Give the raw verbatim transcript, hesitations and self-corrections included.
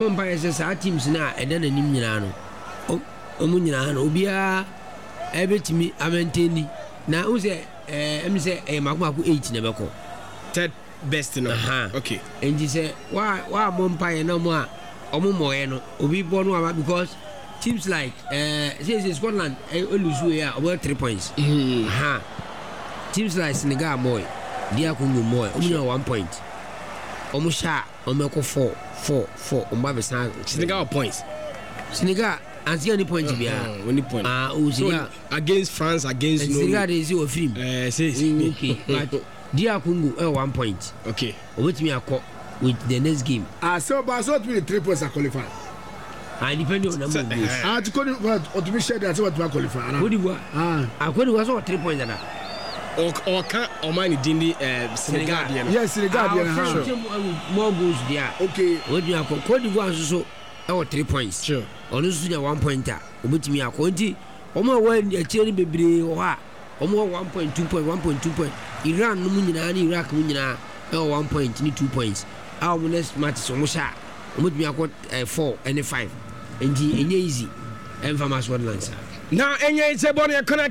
Mpa yɛ sɛ saa teams no a ɛda n'anim nyinaa no, ɔmo nyinaa no, obiara ɛbɛtumi amɛntɛni na n sɛ ɛɛ ɛmi sɛ ɛyɛ mako mako eight na ɛbɛkɔ. Third best no. Aha. Okay. Nti sɛ wa wa bɔ mpa yɛ na ɔmo a ɔmo mɔɔyɛ no, obi bɔ no aba, because teams like ɛɛ sɛ Scotland ɛ elose wei a, ɔmo yɛ three points. Mm. Aha, teams like Senegal mɔɔyɛ, D R Congo mɔɔyɛ, ɔmo nyɛ one point, ɔmo hyɛ a, ɔmo ɛkɔ four four four, ɔmo ba bɛ san. Senegal points. Senegal ansi any point biara. Uh, only point. Ah, o Senegal. So, against France, against Senegal de si wɔ firim. Eh, say. Okay, but D R Congo ɛwɔ one point. Okay. Obetumi akɔ with the next game. Ah, sɛ ɔba sɛ ɔtumi de three points a qualify. Ah, depending on number of goals. Ah, ti Cote d'Ivoire ɔtumi hyɛ de ase, wɔtumi qualify ana? Cote d'Ivoire. Ah. Ah, Cote d'Ivoire sɛ wɔ three points dada. Ɔka ɔman ne din di eh, Senegal deɛ no. Yes, Senegal deɛ no Ah, ha. ɔsɛ more goals deɛ a, okay obetumi akɔ. Cote d'Ivoire nso so ɛwɔ three points. Sure. Ɔno nso nya one point a, obetumi akɔ. Nti wɔn a wɔwɔ akyire no bebree wɔ hɔ a wɔn wɔ one point, two point, one point, two point. Iran no mu nyinaa ne Iraq mu nyinaa ɛwɔ one point ne two points a wɔn next matches wɔn hyɛ a, wɔn betumi akɔ ɛɛ four ɛne five. Nti enye easy ɛnfa ma Scotland saa. Na ɛnyɛ sɛ bɔ ne ɛkɔna.